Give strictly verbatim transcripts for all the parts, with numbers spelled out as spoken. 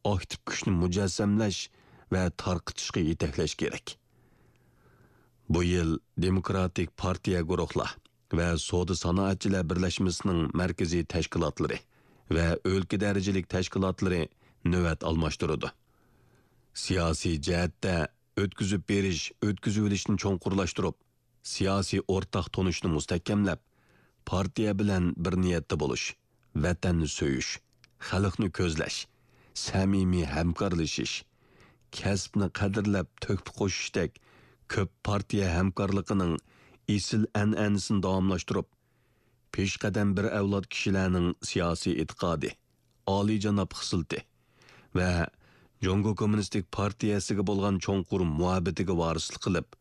ئاكتىپ كۈچنى مۇجەسسەملەش ۋە تارقىتىشقا يېتەكلەش كېرەك. بۇ يىل دېموكراتىك پارتىيە گۇرۇھلار ۋە سودا سانائەتچىلەر بىرلەشمىسىنىڭ مەركىزىي تەشكىلاتلىرى ۋە ئۆلكە دەرىجىلىك تەشكىلاتلىرى نۆۋەت ئالماشتۇرىدۇ. سىياسىي جەھەتتە ئۆتكۈزۈپ بېرىش، ئۆتكۈزۈۋېلىشنى چوڭقۇرلاشتۇرۇپ، سىياسىي ئورتاق تونۇشنى مۇستەھكەملەپ، پارتىيە بىلەن بىر نىيەتتە بولۇش، ۋەتەننى سۆيۈش، خەلقنى كۆزلەش، سەمىمىي ھەمكارلىشىش، كەسىپنى قەدىرلەپ تۆھپە قوشۇشتەك كۆپ پارتىيە ھەمكارلىقىنىڭ ئېسىل ئەنئەنىسىنى داۋاملاشتۇرۇپ، پېشقەدەم بىر ئەۋلاد كىشىلەرنىڭ سىياسىي ئېتىقادى، ئالىيجاناب خىسلىتى ۋە جۇڭگو كوممۇنىستىك پارتىيەسىگە بولغان چوڭقۇر مۇھەببىتىگە ۋارىسلىق قىلىپ،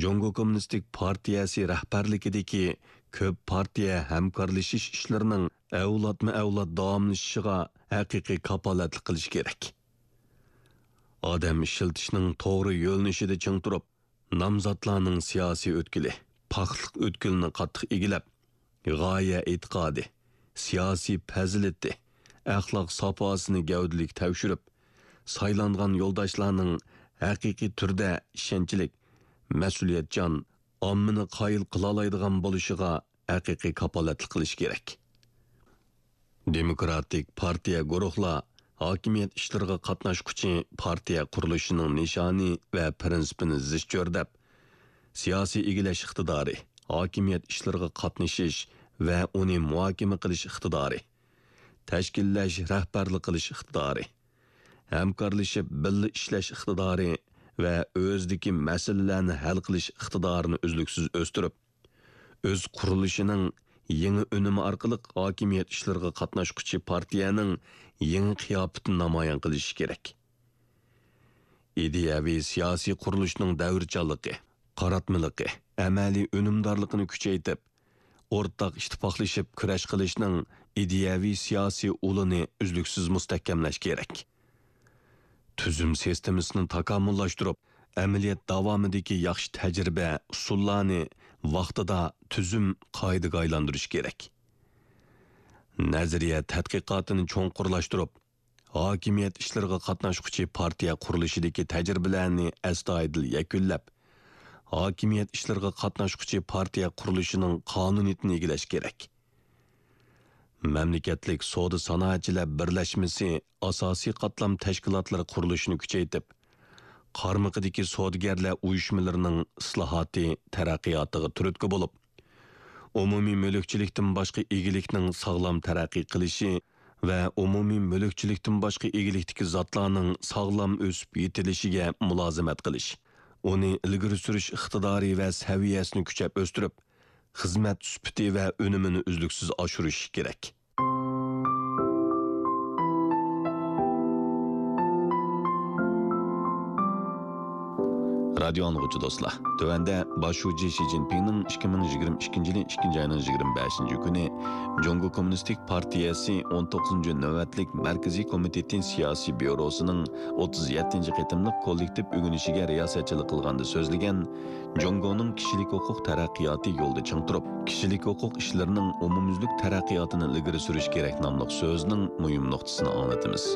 جۇڭگو كوممۇنىستىك پارتىيەسى رەھبەرلىكىدىكى كۆپ پارتىيە ھەمكارلىشىش ئىشلىرىنىڭ ئەۋلادمۇ ئەۋلاد داۋاملىشىشىغا ھەقىقىي كاپالەتلىك قىلىش كېرەك. ئادەم ئىشلىتىشنىڭ توغرا يۆنىلىشىدە چىڭ تۇرۇپ، نامزاتلارنىڭ سىياسىي ئۆتكىلى، پاكلىق ئۆتكىلىنى قاتتىق ئىگىلەپ، غايە ئېتىقادى، سىياسىي پەزىلىتى، ئەخلاق ساپاسىنى گەۋدىلىك تەكشۈرۈپ، سايلانغان يولداشلارنىڭ ھەقىقىي تۈردە ئىشەنچلىك، مەسئۇلىيەتچان، ئاممىنى قايىل قىلالايدىغان بولۇشىغا ھەقىقىي كاپالەتلىك قىلىش كېرەك. دېموكراتىك پارتىيە گۇرۇھلار ھاكىمىيەت ئىشلىرىغا قاتناشقۇچى پارتىيە قۇرۇلۇشىنىڭ نىشانى ۋە پىرىنسىپىنى زىچ چۆرىدەپ، سىياسىي ئىگىلەش ئىقتىدارى، ھاكىمىيەت ئىشلىرىغا قاتنىشىش ۋە ئۇنى مۇھاكىمە قىلىش ئىقتىدارى، تەشكىللەش، رەھبەرلىك قىلىش ئىقتىدارى، ھەمكارلىشىپ بىللە ئىشلەش ئىقتىدارى ۋە ئۆزىدىكى مەسىلىلەرنى ھەل قىلىش ئىقتىدارىنى ئۈزلۈكسىز ئۆستۈرۈپ، ئۆز قۇرۇلۇشىنىڭ يېڭى ئۈنۈمى ئارقىلىق ھاكىمىيەت ئىشلىرىغا قاتناشقۇچى پارتىيەنىڭ يېڭى قىياپىتىنى نامايان قىلىشى كېرەك. ئىدىيەۋى سىياسىي قۇرۇلۇشنىڭ دەۋرچانلىقى، قاراتمىلىقى، ئەمەلىي ئۈنۈمدارلىقىنى كۈچەيتىپ، ئورتاق ئىتتىپاقلىشىپ كۈرەش قىلىشنىڭ ئىدىيەۋى سىياسىي ئۇلىنى ئۈزلۈكسىز مۇستەھكەملەش كېرەك. تۈزۈم سىستېمىسىنى تاكامۇللاشتۇرۇپ، ئەمەلىيەت داۋامىدىكى ياخشى تەجرىبە، ئۇسۇللارنى ۋاقتىدا تۈزۈم، قائىدىگە ئايلاندۇرۇش كېرەك. نەزەرىيە تەتقىقاتىنى چوڭقۇرلاشتۇرۇپ، ھاكىمىيەت ئىشلىرىغا قاتناشقۇچى پارتىيە قۇرۇلۇشىدىكى تەجرىبىلەرنى ئەستايىدىل يەكۈنلەپ، ھاكىمىيەت ئىشلىرىغا قاتناشقۇچى پارتىيە قۇرۇلۇشىنىڭ قانۇنىيىتىنى ئىگىلەش كېرەك. مەملىكەتلىك سودا سانائەتچىلەر بىرلەشمىسى ئاساسىي قاتلام تەشكىلاتلىرى قۇرۇلۇشىنى كۈچەيتىپ، قارمىقىدىكى سودىگەرلەر ئۇيۇشمىلىرىنىڭ ئىسلاھاتى، تەرەققىياتىغا تۈرتكە بولۇپ، ئومۇمىي مۈلۈكچىلىكتىن باشقا ئىگىلىكنىڭ ساغلام تەرەققىي قىلىشى ۋە ئومۇمىي مۈلۈكچىلىكتىن باشقا ئىگىلىكتىكى زاتلارنىڭ ساغلام ئۆسۈپ يېتىلىشىگە مۇلازىمەت قىلىش، ئۇنى ئىلگىرى سۈرۈش ئىقتىدارى ۋە سەۋىيەسىنى كۈچەپ ئۆستۈرۈپ، خىزمەت سۈپىتى ۋە ئۈنۈمىنى ئۈزلۈكسىز ئاشۇرۇش كېرەك. رادىيو ئاڭلىغۇچى دوستلار، تۆۋەندە باش شۇجى شى جىنپىڭنىڭ ئىككى مىڭ يىگىرمە ئىككىنچى يىلى ئىككىنچى ئاينىڭ يىگىرمە بەشىنچى كۈنى جۇڭگو كوممۇنىستىك پارتىيەسى ئون توققۇزىنچى نۆۋەتلىك مەركىزىي كومىتېتى سىياسىي بيۇروسىنىڭ ئوتتۇز يەتتىنچى قېتىملىق كوللېكتىپ ئۆگىنىشىگە رىياسەتچىلىك قىلغاندا سۆزلىگەن جۇڭگونىڭ كىشىلىك ھوقۇق تەرەققىياتى يولىدا چىڭ تۇرۇپ، كىشىلىك ھوقۇق ئىشلىرىنىڭ ئومۇميۈزلۈك تەرەققىياتىنى ئىلگىرى سۈرۈش كېرەك ناملىق سۆزىنىڭ مۇھىم نۇقتىسىنى ئاڭلىتىمىز.